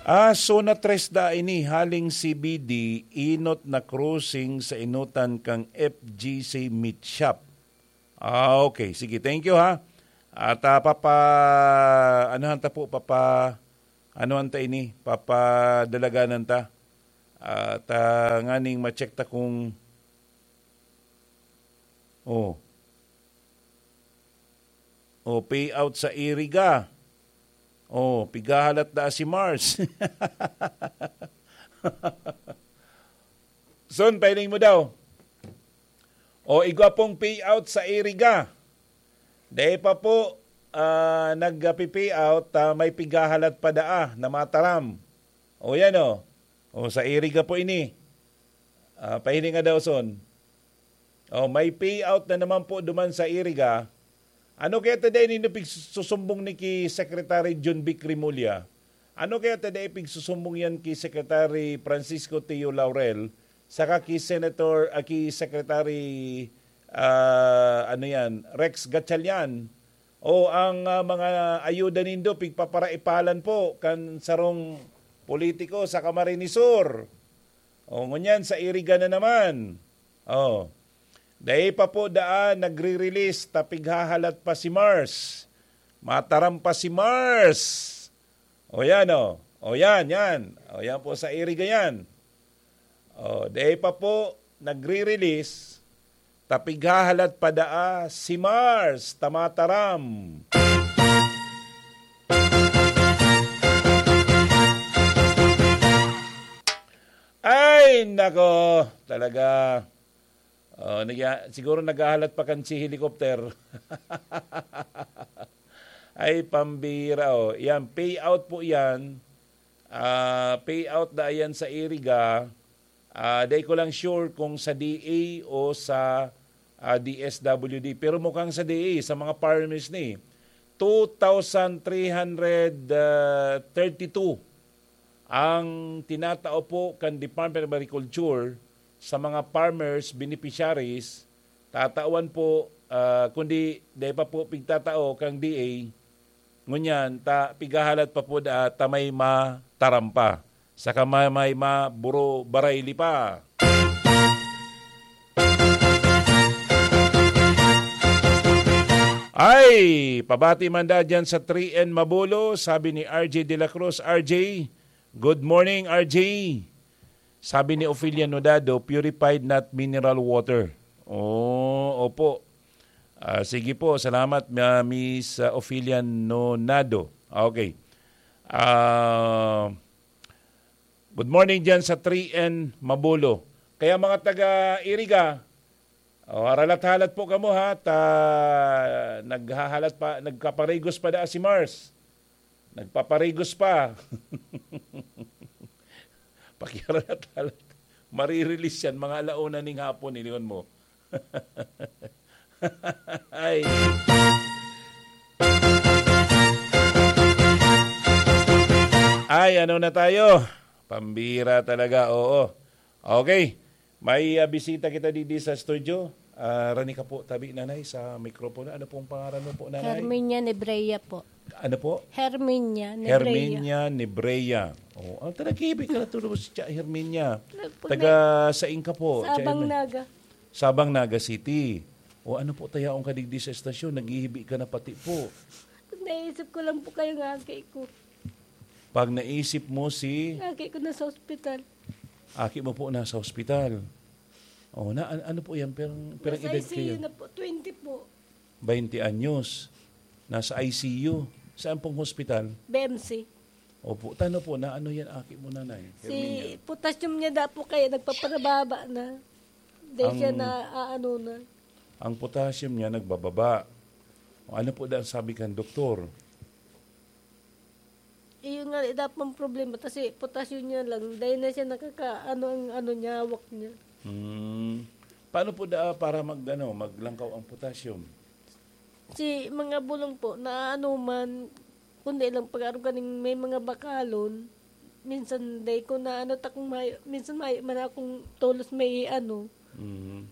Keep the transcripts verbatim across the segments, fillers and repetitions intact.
Ah, zona tres da ini, haling C B D, inot na crossing sa enotan kan F G C Meat Shop. Ah, okay. Sige, thank you, ha. At, ah, papa-, anuhan ta po, papa-, anuhan ta ini, papadalaganan ta. At, ah, nganing ma-check ta kung, oh. Oh, payout sa Iriga. Oh, pighahalat na si Mars. Son, pahiling mo daw. O, igwa pong payout sa Iriga. Dai pa po, ah, nagpi-payout, ah, may pighahalat pa daa na Mataram. O, yan o. O, sa Iriga po ini. Ah, pahilinga daw, Son. O, may payout na naman po duman sa Iriga. Ano kaya ta dai nindo pigsusumbong ni ki Secretary John Vic Remulla? Ano kaya ta dai pigsusumbong yan ki Secretary Francisco Teo Laurel, saka ki Senator, ah, ki Secretary, ah, ano yan, Rex Gatchalian? O ang, ah, mga ayuda nindo, pigpaparaipalan po kan sarong politiko sa Camarines Sur. O, ngunyan, sa Iriga na naman. O, dai pa po daan nagre-release, ta pighahalat pa si Mars. Mataram pa si Mars. O, yan, o. O, yan, yan. O, yan po sa Iriga yan. O, dai pa po nagre-release, ta pighahalat pa daa si Mars, ta Mataram. Ay, nako, talaga. Oh, nagya-, siguro naghahalat pa kan si helicopter. Ay, pambira, oh. Yan, payout po yan. Ah, payout na yan sa Iriga. Ah, dai ko lang sure kung sa D A o sa, ah, D S W D. Pero mukhang sa D A, sa mga farmers ni. Two thousand three hundred thirty-two ang tinatao po kan Department of Agriculture sa mga farmers, beneficiaries, tatawan po, ah, kundi dai pa po pigtatao kang D A, ngunyan, ta, pighahalat pa po da, ta may mataram pa. Saka may, may maburo barayli pa. Ay, pabati man da dyan sa three N Mabulo, sabi ni R J De La Cruz, R J, good morning, R J. Sabi ni Ophelia Nodado, purified, not mineral water. Oh, opo. Ah, sige po, salamat, ah, Miss, ah, Ophelia Nonado. Okay. Ah, good morning dyan sa three N Mabulo. Kaya mga taga Iriga, oh, haralat-halat po kamo ha, ta naghahalat pa, nagkaparigos pa da si Mars. Nagpaparigos pa. Pakiharalat-halat. Marirelease yan, mga alauna ning hapon, ilingon mo. Ay. Ay, ano na tayo? Pambira talaga, oo. Okay. May, ah, bisita kita digdi sa studio. Ah, rani ka po tabi, Nanay, sa mikropono. Ano pong pangaran mo po, Nanay? Herminia Nebrea po. Ano po? Herminia Nebrea. Herminia Nebrea. Oh, ang taga-Quebec ka na tulo si Tia Herminia. Nagpunay. Taga sain ka po, Tia Sabang Herminia? Naga. Sabang Naga City. O ano po, tayaon ka digdi sa estasyon, naghihibi ka na pati po. Naisip ko lang po kayo nga, aki ko. Pag naisip mo si Aki ko nasa ospital. Aki mo po nasa ospital. Oh, na, an-, ano po yan? Perang, perang Nasa edad I C U kayo? Na po, twenty po. Baynte anyos. Nasa I C U. Saan pong hospital? B M C. Opo. Tano po, na ano yan, aki mo, Nanay? Si Herminia? Potassium niya da po kaya nagpaparababa na. Dahil siya Ang na, aano na. Ang potassium niya nagbababa. O, ano po da ang sabi kan doktor? Iyon nga, eh, dapat ang problema. Kasi potassium niya lang. Dahil na siya nakaka-, ano ang ano niya, hawak niya. Hmm. Paano po da para mag, ano, maglangkaw ang potassium? Si mga bulong po, na ano man, kundi lang pag-aro kaning may mga bakalon, minsan dai ko na ano, takong may, minsan may man akong tolos may ano. Mhm.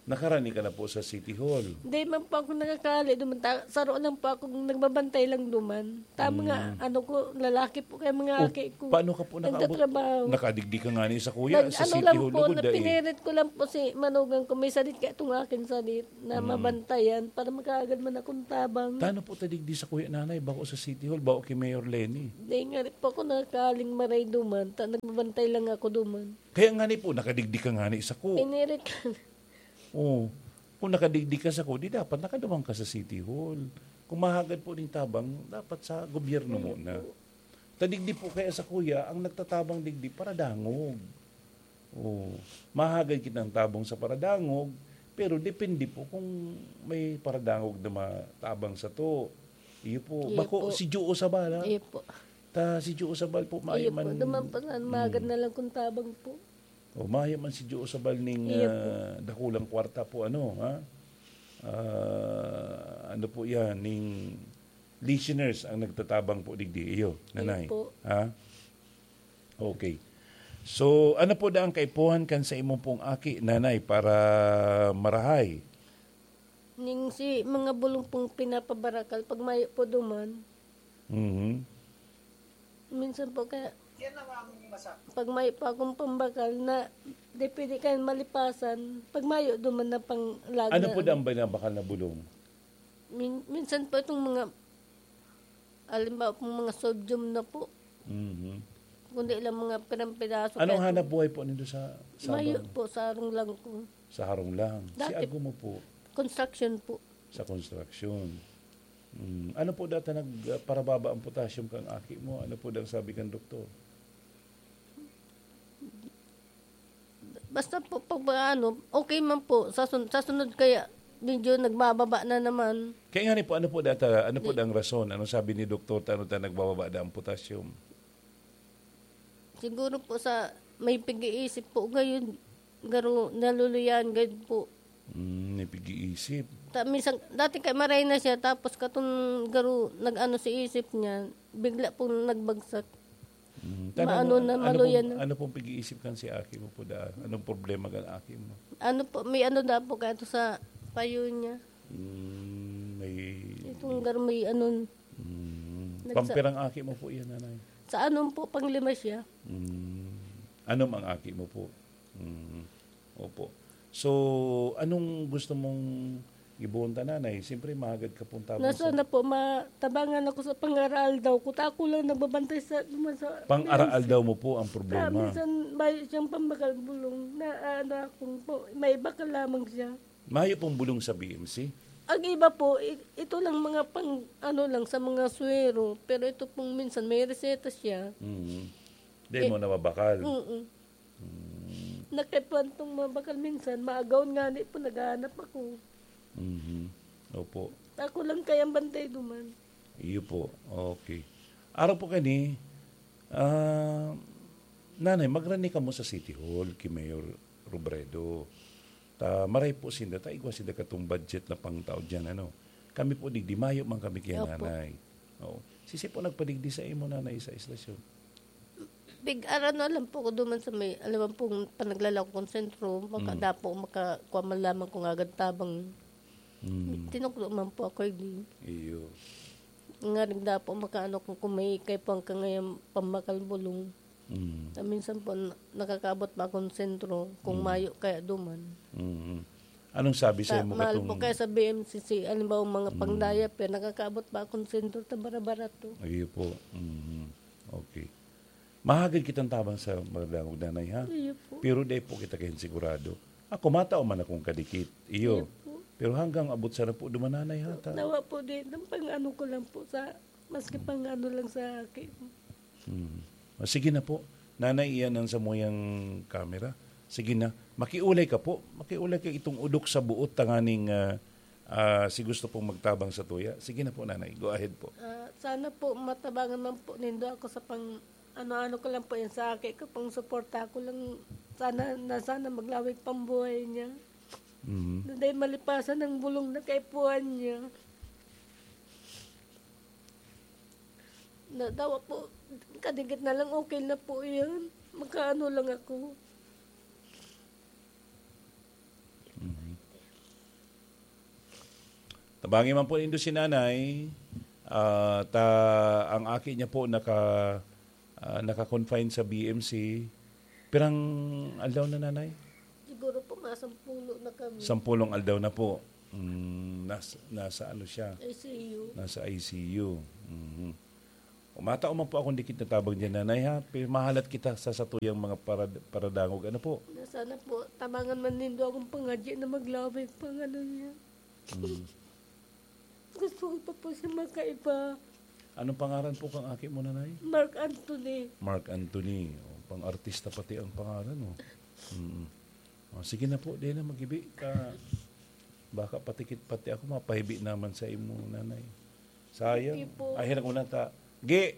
Nakarani ka na po sa City Hall? Hindi man po ako nakakali duman. Ta-, saro lang po ako, nagbabantay lang duman. Ta mga Mm. ano ko, lalaki po kaya mga O, aki ko. Paano ka po nakaabot? Nagtatrabaho. Nakadigdi ka nga ni sa kuya, Nag-, sa ano City lang Hall, po, lugod na eh. Napinirit ko lang po si manugang ko. May sadit kaya itong aking sadit na Mm. mabantayan para makaagad man akong tabang. Tano po tadigdi sa kuya nanay, bako sa City Hall, bako kay Mayor Lenny? Hindi nga rin po ako nakakaling maray duman. Ta-, nagbabantay lang ako duman. Kaya nga ni po, nakadigdi ka nga ni sa ku- Pinirit lang. Oh, kung nakadigdi ka sa ku-, di dapat nakaduman ka sa City Hall. Kung mahagad po ning tabang, dapat sa gobyerno Ayun muna. Po. Tadigdi po kaya sa kuya, ang nagtatabang digdi, paradangog. Oh, mahagad kitang tabang sa paradangog, pero depende po kung may paradangog na matabang sa to. Iyo po. Iyo Bako, po. Si Juo Sabala. Iyo po. Ta, si Juo Sabal po, mayo Iyo po. man. Duman po, na, mahagad Mm. na lang kung tabang po. O, mayo man si Juo Sabal ning, Iyo po. ah, dakulang kwarta po, ano, ha? Ah, ano po yan, ning listeners ang nagtatabang po digdi. Iyo, Iyo nanay. Po. Ha? Okay. So, ano po da ang kaipuhan kan sa imo pong aki, nanay, para marahay? Ning si mga bulong pong pinapabarakal, pag mayo po duman. Mhm. Minsan po kaya, pag mayo po akong pambakal na, di pwede kayo malipasan, pag mayo duman na pang lag Ano na po ano. Dang binabakal na bulong? Min-, minsan po itong mga, halimbawa pong mga sodium na po. Mhm. Kundi lang mga pirang piraso Anong kaya hanap po. Buhay po nindo sa Sabang? Mayo po, sa harong lang ko. Sa harong lang. Si Dati ago mo po? Construction po. Sa construction. Mm. Ano po data nagparababa ang potassium kang aki mo? Ano po dang sabi kang doktor? Basta po, pag ano, okay man po. Sa sun-, sa sunod kaya, medyo nagbababa na naman. Kaya nga ni po, ano po data, ano po Di- dang rason? Ano sabi ni doktor, ta-, ano ta nagbababa da ang potassium? Siguro po sa may pag-iisip po ngayon, garo naluluyan gayud po. Mm, may pag-iisip. Ta-, minsan, dati kay maray na siya, tapos katong garo nag-ano si isip niya, bigla pong nagbagsak. Mm, Maano tanong mo, na, ano maluyan pong, na. Ano pong pag-iisip kan si aki mo po da? Anong problema kan aki mo? Ano po, may ano da po kaya to sa payo niya. Mm, may Itong gar-, may ano, Mm. Nagsa- Pampirang aki mo po yan, nanay? Sa anom po, panglima siya. Mm. Anom ang aki mo po? Mm. Opo. So, anong gusto mong ibohon ta, nanay? Siyempre, mahagad ka pong tabang Na sa sana po, matabangan ako sa pang-aral daw. Kuta ako lang nagbabantay sa, sa Pang-aral daw mo po ang problema. Minsan, may siyang pambakal bulong na, ano, akong po, may bakal lamang siya. Mayo pong bulong sa B M C? Ang iba po, i-, ito lang mga pang, ano lang, sa mga swero. Pero ito pong minsan may reseta siya. Mm. Di Eh, mo nababakal? Mm. Mm. Nakaipuhan tong mga bakal minsan, maagaw nga ni po, naghahanap ako. Mhm. Opo. Ako lang kayang bantay duman. Iyo po. Okay. Araw po kani, ah, nanay, magrani kamo sa City Hall, ki Mayor Robredo. Ta, maray po sinda, ta igwa sinda katong budget na pangtao diyan, ano. Kami po, digdi, mayo man kami kay Opo. Nanay. Oo. Sisi po nagpadigdi sa imo, nanay, sa istasyon? Big, ano lang po ko duman sa may, alam mo pong panaglalaw kong sentro, Mm. makadapo, makakuha man lamang kung agad tabang. Mm. Tinukdo man po ako, eh, di. Iyo. Nga nagdapo, makaano kung, kung may kaipuhan ka ngayon, pambakal bulong. Mm. Ta minsan po, na-, nakakaabot pa akong sentro, kung Mm. mayo kaya duman. Mm. Anong sabi sa Ta-, imo mahal po katong kaya sa B M C C, halimbawa, mga Mm. pang-diaper, nakakaabot pa akong sentro, ta bara-barato. Iyo po. Mm. Okay. Mahagad kitang tabang sa mga dangog, nanay, ha? Iyo po. Pero dai po kita kayan sigurado. Ako, matao man akong kadikit. Iyo. Iyo po. Pero hanggang abot sa na po duman, nanay, ha, ta? Nawa po din, ang pang-ano ko lang po sa, maski pang-ano lang sa akin. Hmm. Ah, sige na po. Nanay, iyan ang samuyang camera. Sige na. Makiulay ka po. Makiulay ka itong udok sa buot tanganing, ah, ah, si gusto pong magtabang sa tuya. Sige na po, nanay. Go ahead po. Ah, sana po matabangan man po nindo ako sa pang, ano-ano ko lang po yan sa aki ko, pang suporta ko lang. Sana, na sana maglawig pang buhay niya. Mhm. Na dahil malipasan ang bulong na kaipuhan niya. Na, dawa po, kadikit na lang, okay na po yan. Makaano lang ako. Mhm. Bangi man po nindo si Nanay, ah, ta ang aki niya po naka, ah, naka-confine sa B M C. Pirang aldaw na, Nanay? Siguro po, mga sampulo na kami. Sampulong aldaw na po. Mm, nas-, nasa ano siya? I C U. Nasa I C U. Mhm. Kung matao man po akong dikit na tabang diyan, Nanay, ha? Pero mahalat kita sa satuyang mga parad-, paradangog. Ano po? Na sana po, tabangan man nindo akong pangadyi na maglawig pang ano niya. Mm. Gusto ko pa po siya magkaiba. Anong pangaran po kang aki mo, Nanay? Mark Anthony. Mark Anthony. Oh, pang-artista pati ang pangaran, oh. Mm. Oh, sige na po, di na magibi ka. Baka patikit pati ako, mapahibi naman sa imo, Nanay. Sayang. Sige po. Ay, hirap ko na ta. Gi,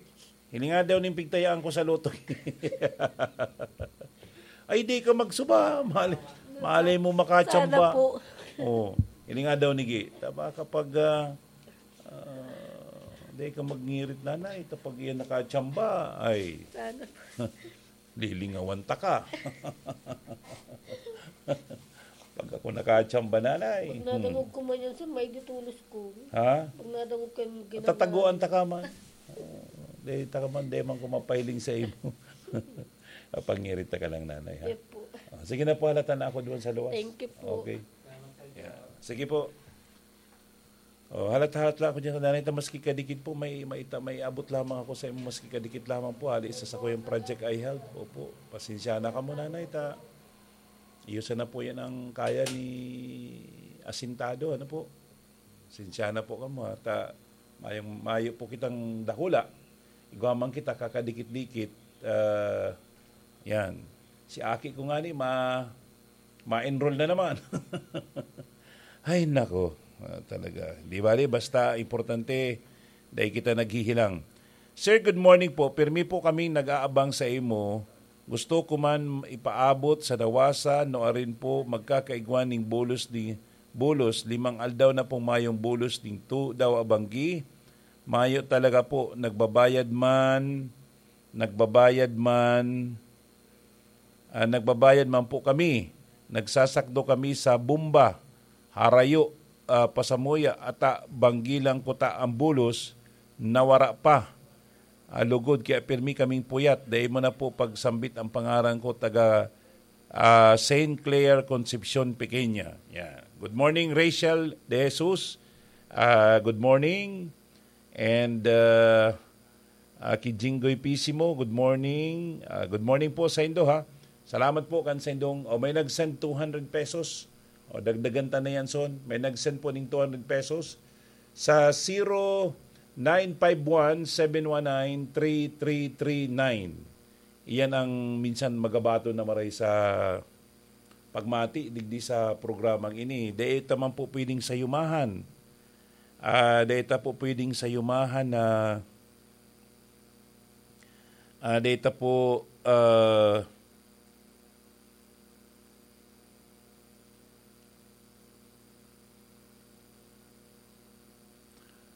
hilinga daw ning pigtayaan ko sa lotto. Ay, di ka magsuba. Mali, mali mo makachamba. Sana po. Oh, hilinga daw ni Gi. Tama kapag, ah, ah, di ka magngirit, Nanay. Kapag iyan nakachamba, ay, Sana po. Lilingawan ta ka. Pag ako nakachamba, Nanay. Pag nadangog ko man yan, sir, may ditulos ko. Ha? Pag nadangog ko yung ginagawa. Tataguan ta ka man. Oh, di ta ka man, di man ko mapahiling sa imo. Pangirit ta ka lang, Nanay, ha? Yes po. Ah, sige na po, halata na ako doon sa luwas. Thank you po. Okay. Yeah. Sige po. Oh, halat-halat lang ako dyan, Nanay, ta maski kadikit po, may, may, ita-, may abot lamang ako sa imo, maski kadikit lamang po, hali sa sakuyang project I held. Opo, pasensya na kamo, Nanay, ta iyo sana po yan ang kaya ni asintado, ano po? Pasensya na po kamo, ha, ta mayong, mayo po kitang dakula. Igwa man kita, kakadikit-dikit, ah, yan. Si aki ko nga ni, ma-, ma-enroll na naman. Ay, nako. Ah, talaga. Di bali, basta importante, dai kita naghihilang. Sir, good morning po. Pirmi po kaming nag-aabang sa imo. Gusto ko man ipaabot sa Nawasa, no arin po magkakaigwa ning bulos di, bulos. Limang aldaw na pong mayong bulos ning tu daw abanggi. Mayo talaga po, nagbabayad man, nagbabayad man, ah, nagbabayad man po kami. Nagsasakdo kami sa Bumba, Harayo, ah, Pasamuya, ata banggi lang kuta ang bulos, nawara pa. Ah, lugod, kaya pirmi kaming puyat. Dai mo na po pagsambit ang pangaran ko, taga, ah, Saint Clair, Concepcion Pequeña. Yeah. Good morning, Rachel De Jesus. Ah, good morning. And, uh, uh, ki Jinggoy Pisimo, good morning. Uh, good morning po sa indo, ha. Salamat po kan sa indong, oh, may nag-send two hundred pesos. O, dagdagan ta na yan, son. May nag-send po ning two hundred pesos sa zero nine five one, seven one nine, three three three nine. Iyan ang minsan magabaton na maray sa pagmati digdi sa programang ini. Dai ta man po pwedeng sayumahan. Ah, dai ta po pwedeng sayumahan na, ah, dai ta po, ah,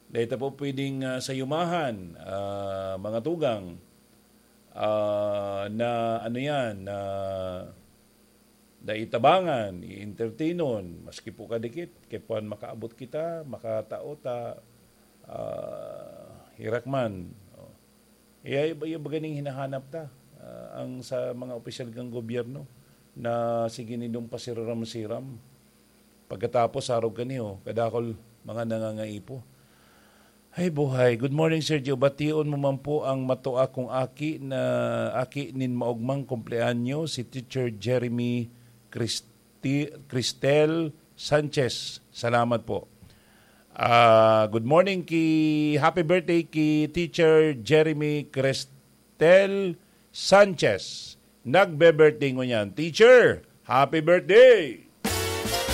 dai ta po pwedeng, ah, sayumahan, ah, mga tugang, ah, na ano yan, na dai tabangan, i-entertainon, maski po kadikit, kay puwan makaabot kita, makatao ta, ah, hirak man. Oh. Iya, iba, iba ganing hinahanap ta, ah, ang sa mga opisyal kan gobyerno na sige nindong pasiraram-siram. Pagkatapos, arog kaniyo, kadakol mga nangangaipo. Ay, buhay. Good morning, Sir Gio. Bation mo man po ang matua kong aki na, aki nin maogmang kumpleanyo, si Teacher Jeremy Christi-, Cristel Sanchez. Salamat po. Ah, good morning ki, happy birthday ki Teacher Jeremy Cristel Sanchez. Nagbe-birthday ngunyan. Teacher, happy birthday!